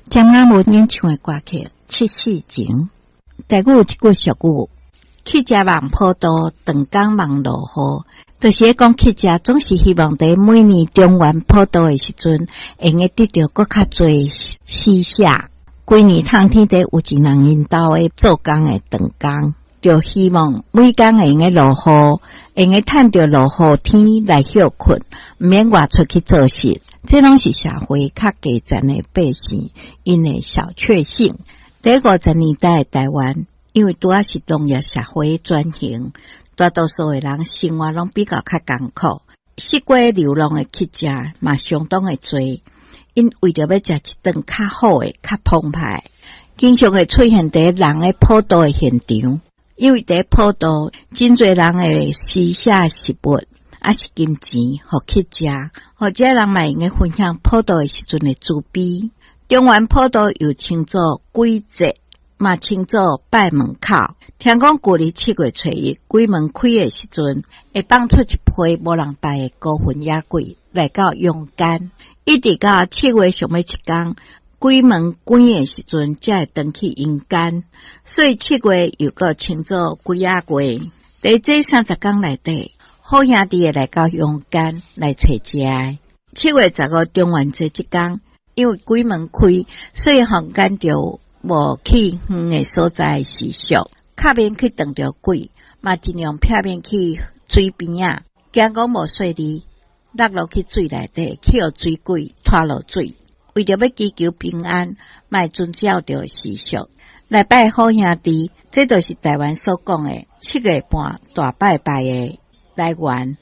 詹雅雯演唱的歌曲《七夕情》。台語有一句俗語：乞食望普渡，長工望落雨。就是咧講乞食總是希望佇每年中元普渡的時陣，會用得著閣較濟施捨。規年冬天底有一人𪜶兜的做工的長工，就希望每工會用得落雨，會用得趁著落雨天來歇睏，毋免外出去做事。這攏是社會較低層的百姓，𪜶的小確幸。佇50年代的台灣，因為拄仔是農業社會轉型，大多數的人生活攏比較較艱苦，四處流浪的乞食嘛相當的濟。𪜶為著欲食一頓較好的、較澎湃，經常會出現佇人咧普渡的現場。因為佇普渡，真濟人會施捨食物，抑是金錢，予乞食，予這人嘛會用得分享普渡的時陣的慈悲。中元普渡又稱做鬼節，嘛稱做拜門口。聽講舊曆7月初1鬼門開的時陣，會放出一批無人拜的孤魂野鬼來到陽間，一直到七月上尾一工，鬼門關的時陣，才會轉去陰間。所以七月又閣稱做鬼仔月。佇這30工內底，好兄弟會來到陽間來揣食的。7月15中元節這工，因為鬼門開，所以坊間就無去遠的所在習俗，較免去撞著鬼，嘛盡量避免去水邊仔，驚講無細膩，落落去水內底，去予水鬼拖落水。為著欲祈求平安，嘛會遵照著習俗來拜好兄弟，這就是台灣所講的七月半大拜拜的來源。